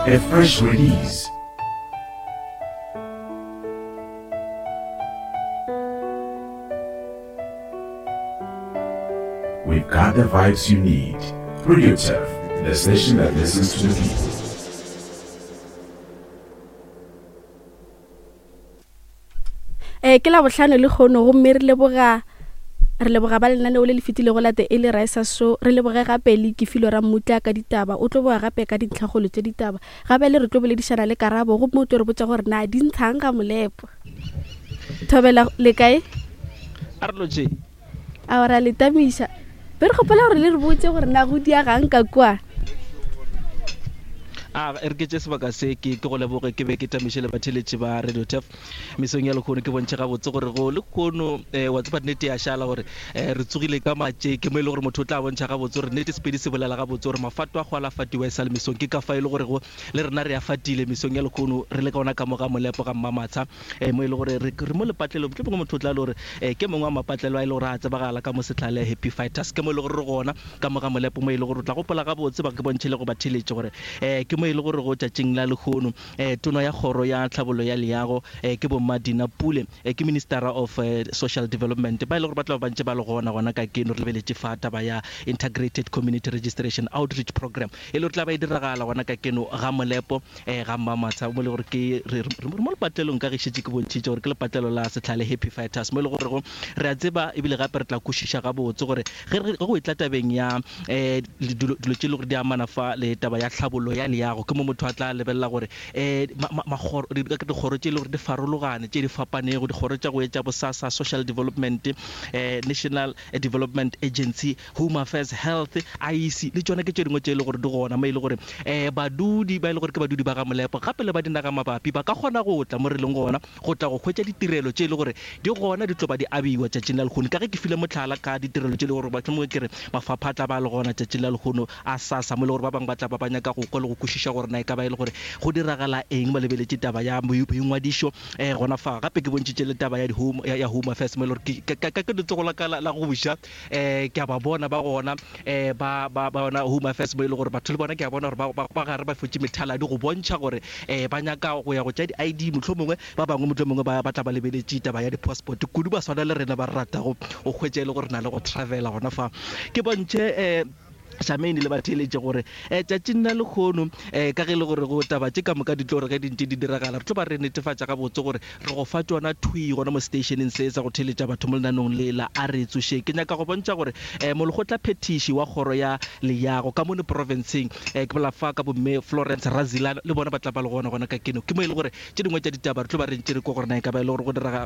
A fresh release. We've got the vibes you need. Radio Turf, the station that listens to the people. Eh, ke labohlano le kgono gomme re leboga re leboga ba lenaneo le le fetilego la The Early Risers Show re leboge gape le kefilo ra mmutla ka ditaba o tlo boa gape ka dintlhakgolo tše ditaba gape le re tlo boledišana le karabo gomme o tlo re botša gore na di ntshang ga molepo thobela le kae a re lotše a ra le tamiša be re kgopela gore le re botse gore na go diagang ka kua a e re ke tše sebaka se ke ke go leboge ke be ke tamiše le batheletši ba radio tef mesong ya lekgono ke bontšhe gabotse gore go lekgono um eh, wa tseba nnete ya šala gore um re tsogile ka matšeke mo e le gore motho o tla bontšha gabotse gore nnete sepedi se bolela gabotse gore mafato a go alafatiwa e sa le mesong ke ka fa e le gore go le rena re a fatile mesong ya lekgono re le ka ona ka moga molepo ga mmamatsha um mo e le gore re re mo lepatlelong mohlomongwe motho o tla le gore um ke mongwe wa mapatlelo a e le gore a tsebagala ka mo setlhale happy fighters ke mo e le gore re gona ka mo ga molepo mo e le gore o tla gopola gabotse ba ke bontšhe le go ba theletše gore um ke mo e le gore go tšatšing la lehono um tono ya kgoro ya tlhabollo ya leago um ke bomma Dina Pule um ke ministera of social development ba e le gore ba tla ba ntše ba le gona gona ka keno re lebeletše fa taba ya integrated community registration outreach program e le gore tla ba e diragala gona ka keno ga molepo um ga mmamatsha mo e le gore ke re mo lepatlelong ka ge šetše ke bontšhitše gore ke lepatlelo la setlhale happy fighters mo e le gore go re a tseba ebile gape re tla kwešiša gabotse gore ge go etla tabeng ya um dilo tše e le gore di amana fa le taba ya tlhabollo ya leago ke mo motho a tla lebelela gore um dikgoro tše e le gore di farologane tše di fapanego dikgoro tša go etša bosasa social development um national development agency Home Affairs, Health, IEC le tšona ke tše dingwe tše e le gore di gona mo e le gore um badudi ba e le gore ke badudi ba ga Molepo gape le ba dinaga mabapi ba ka kgona go tla mo re leng gona go tla go hwetša ditirelo tše e le gore di gona di tlo ba di abiwa tšatšing la lehono. Ka ge ke file mohlala ka ditirelo tše e le gore mohlomongwe ke re mafapha a tla ba a le gona tšatšing la lehono a SASSA mo e le gore ba bangwe ba tla ba ba nyaka go kwa le go kwešiša gore na e ka ba e le gore go diragala eng ba lebeletše taba ya boingwadišo um gona fa. Gape ke bontšhitše le taba ya di-home ya Home Affairs mo e le gore ke ka letsogo la ka la go ja um ke a ba bona ba gona um ba ba ba bona home affairs mo e le gore batho le bona ke a bona gore ba ba ba gare ba fotše methaladi go bontšha gore um ba nyaka go ya go tša di-I_D mohlomongwe ba bangwe mohlomongwe ba ba tla ba lebeletše taba ya di-passport kudu ba swana le rena ba re ratago go hwetša e le gore na le go travela gona fa ke bontšhe um Shameni le batheeletše gore um tšatšing la lekgono um ka ge e le gore go taba tše ka moka di tlo re ge di ntše di diragala re tlo ba re netefatša gabotse gore re go fa tšona thwi gona mo seteišeneng se sa go theeletša batho mo lenanong le la A Re Tsošeng. Ke nyaka go bontšha gore um molekgotlaphethiši wa kgoro ya leago ka mono profenseng um ke bolela fa ka bomme Florence Razilana le bona ba tla ba le gona gona ka keno ke mo e le gore tše dingwe tša ditaba re tlo ba re ntše re kwa gore na e ka ba e le gore go diraga.